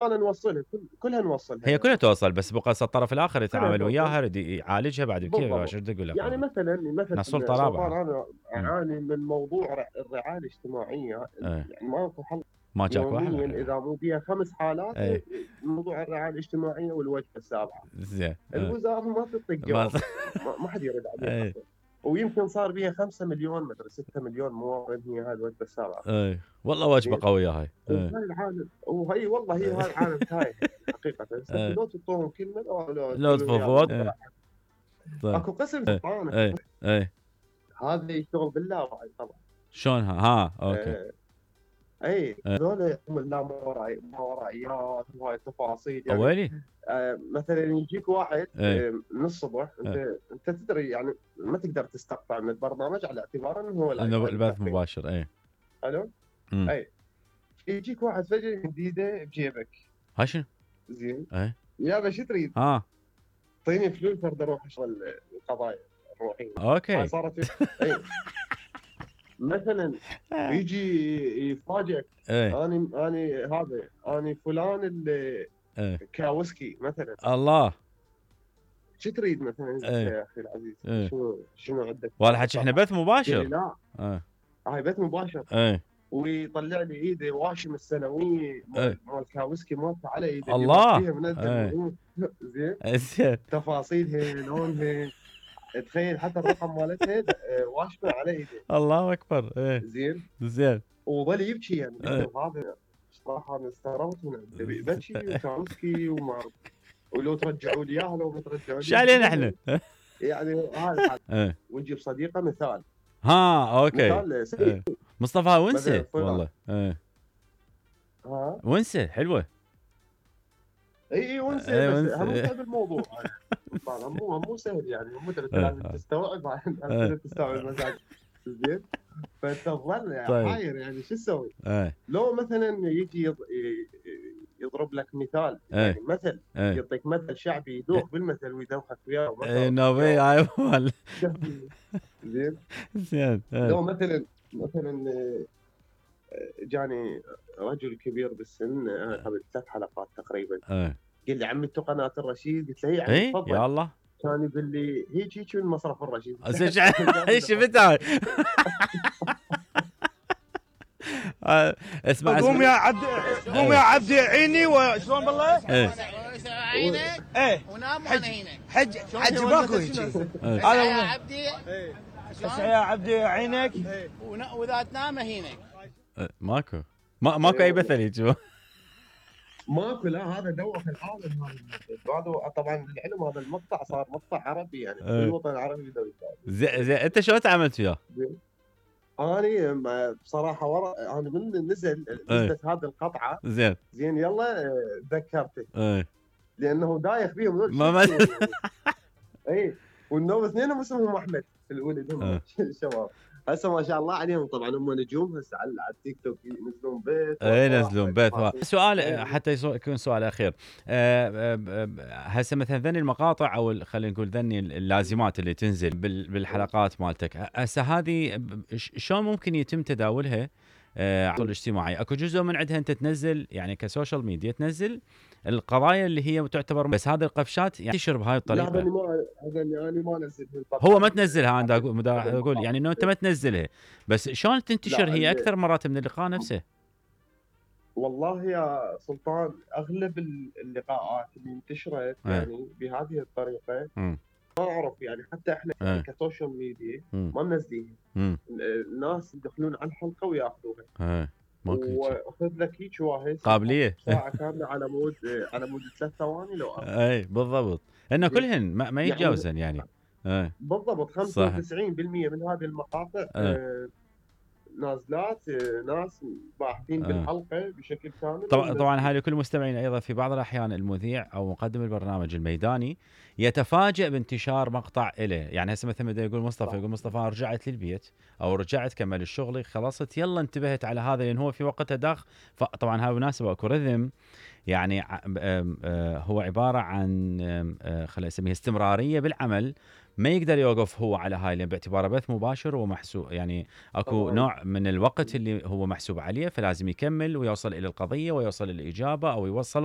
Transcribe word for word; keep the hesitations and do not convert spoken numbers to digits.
انا نوصلها كل كلها نوصلها هي يعني. كلها توصل، بس بقى الطرف الاخر يتعامل وياها يريد يعالجها بعد كيف شو بدي اقول لك يعني مثلا مثلا سلطه سلطان رابعه. انا اعاني من موضوع الرعايه الاجتماعيه، ايه. يعني ماكو حل ما جاك واحد يوميا اذا مو بيها خمس حالات. ايه. موضوع الرعايه الاجتماعيه والوجبه السابعه. زين. الوزاره ما تعطيك جواب، ما, ما حد يرد عليها. ايه. ويمكن صار بيها خمسة مليون مدري ستة مليون مواطن هي هاي الوجبه السابعه. ايه والله وجبه قويه هاي. ايه. وهاي العالم وهي والله هي هاي العالم تايه حقيقه. ايه. لو تعطوهم كلمه لو لو تفضفض. ايه. طيب. اكو قسم سلطان. ايه. ايه. هذا يشتغل باللاوعي طبعا. شلونها؟ ها اوكي. اه. اي هذول لا ماورائي ماورائيات وهاي التفاصيل يعني. ويلي. آه مثلا يجيك واحد ايه. من الصبح انت ايه. انت تدري يعني ما تقدر تستقطع من البرنامج على اعتبار انه هو انه البث مباشر. ايه. الو. اي يجيك واحد فجاه جديده بجيبك. ها شنو؟ زين. ايه. يابا شو تريد؟ اه اعطيني فلوس ارد اروح اشغل القضايا الروحيه. اوكي. هاي صارت. اي مثلا يجي يفاجئك. ايه. اني اني هذا اني فلان اللي ايه. كاوسكي مثلا. الله. شو تريد مثلا ايه. يا اخي العزيز؟ ايه. شنو شنو عندك؟ والله حكي احنا بث مباشر. لا ايه. هاي بث مباشر. ايه. ويطلع لي ايده واشم السنويه مال مال كاوسكي مالته على ايده. الله. منزل. زين. زين. تفاصيلها لونها تخيل حتى الرقم مالتها واشمه على ايده. الله اكبر. ايه. زين. زين. وظل يبكي يعني. هذا صراحه انا استغربت منه بكي وكاوسكي وما ولو ترجعوا لي اياها لو ما ترجعوا لي. شو علينا احنا؟ يعني هذا الحال. ونجيب صديقه مثال. ها اوكي. مثال سيء. مصطفى ونسه والله. ايه. ها ونسه حلوه. اي اي ونسه. بس اهم شيء بالموضوع مو مو سهل يعني. مو لازم تستوعب لازم تستوعب مزاج. زين. فانت تظل حاير يعني شو تسوي؟ لو مثلا يجي يضرب لك مثال يعني مثل يعطيك مثل شعبي يدوخ بالمثل ويدوخك وياه. اي نوبي هاي مال. زين. زين. لو مثلا مثلا جاني رجل كبير بالسن قبل ثلاث حلقات تقريبا. قال لي عمي انتو قناه الرشيد؟ قلت له اي عمي تفضل. يا الله. كان يقول لي هيك هيك من مصرف الرشيد. شفت هاي. اسمع قوم يا عبد قوم يا عبد عيني وشلون بالله؟ ايه عينك ايه ونام وانا عينك. حج حج ماكو هيك. هذا يا عبدي. اسمع يا عبدي عينك واذا تنام هينك. ماكو ما ماكو اي مثل هيك. ماكو. لا هذا دوخ العالم هذا. طبعا العلم هذا المقطع صار مقطع عربي يعني. كل الوطن العربي يدوي. زين زين انت شلون تعاملت وياه؟ انا بصراحه ورا انا من نزل نزلت هذه القطعه. زين زين يلا تذكرته. ايه. لانه دايخ بيهم. ما ما اي والنوم اثنينهم اسمهم احمد الولد هم الشباب. هسه ما شاء الله عليهم طبعا هم نجوم هسه على التيك توك ينزلون بيت. اي ينزلون بيت. سؤال حتى يكون سؤال اخير. هسه مثلا ذني المقاطع او خلينا نقول ذني اللازمات اللي تنزل بالحلقات مالتك هسه هذه شلون ممكن يتم تداولها على الاجتماعي؟ اكو جزء من عندها انت تنزل يعني كسوشيال ميديا تنزل القضايا اللي هي تعتبر بس هذه القفشات يعني تنشر بهاي الطريقه. لا ما انا ما انزل. هو ما تنزلها. انا اقول يعني انه انت ما تنزلها بس شلون تنتشر هي اكثر مرات من اللقاء نفسه؟ والله يا سلطان اغلب اللقاءات اللي انتشرت يعني بهذه الطريقه م. ما اعرف يعني حتى احنا اه. كسوشيال ميديا م. ما منزلين. الناس يدخلون على الحلقه وياخذوها. اه. واخذ لك هيك واحد قابليه ساعه كامله على مود على مود ثلاث ثواني لو أربع. اي بالضبط. انه كلهن ما, ما يتجاوزن يعني, يعني. اي بالضبط. خمسة وتسعين بالمئة من هذه المقاطع آه. نازلات ناس باحثين آه. بالحلقه بشكل كامل. طبعا طبعا هاي لكل مستمعين ايضا في بعض الاحيان المذيع او مقدم البرنامج الميداني يتفاجئ بانتشار مقطع له. يعني هسه مثلا بده يقول مصطفى يقول مصطفى رجعت للبيت او رجعت كمل الشغل خلصت يلا انتبهت على هذا لان هو في وقتها داخ. طبعا هاي مناسبه اكو رذم يعني هو عباره عن خلينا نسميها استمراريه بالعمل ما يقدر يوقف هو على هاي، لان باعتباره بث مباشر ومحسوب، يعني اكو طبعاً. نوع من الوقت اللي هو محسوب عليه، فلازم يكمل ويوصل الى القضيه ويوصل الى الاجابه او يوصل